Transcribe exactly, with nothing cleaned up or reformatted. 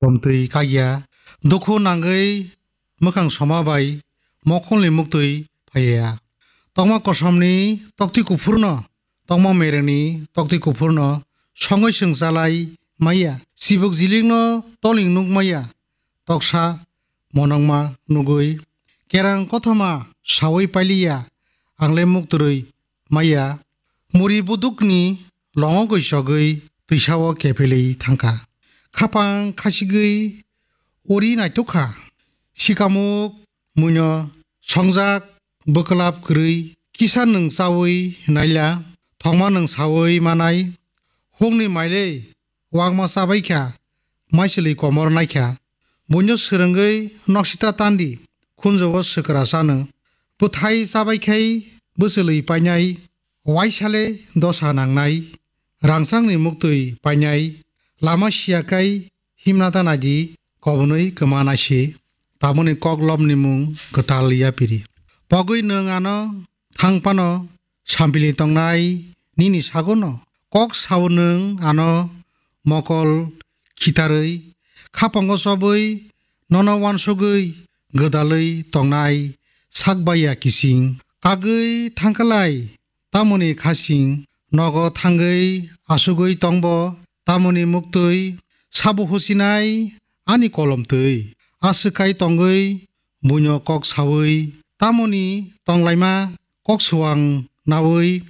Lomtwi kagya, dukhu nangwi mwkhang soma bai mokholni muktwi phaiya. Tokma kosomni tokti kuphurno, tokma merengni tokti kuphurno songwi swngchalai maya. Chibuk jilingno toling nuk maya. Toksa monongma nugwi kerang kothoma sawi pailiya, angle muktrwi maya. Muri budukni longogwi sogwi twisao kephelwi thangkha. Khapang khasigwi uri naitukha. Sikamuk muino songjak bwklap kwrwi kisa nwng chawi naila, thokma nwng sawi manai. Hukni mailei wakma chabaikha, maichwlwi komor naikha. Buino swrwngwi noksita tandi khunjugo swkra chano. Bwthai chabaikhai bwchwlwi painai, waisale dosa nangnai, rangchakni muktwi painai, lama siyakhai himna ta naidi kobonwi kwma naisi. Tamoni koklopni mung kwtal yapiri. Pogwi nwng ano thang phano sampili tongnai nini sagono. Kok sao nwng ano mokol khitarwi, khapango chobwi nono wansugwi gwdalwi tongnai sakbaiya kising. Kagwi thangkhalai tamoni khasing, nogo thangwi asugwi tongbo tamoni muktwi sabo husinai ani kolomtwi. Aswk khai tongwi buino kok sawi tamoni tonglaima kok suang nawi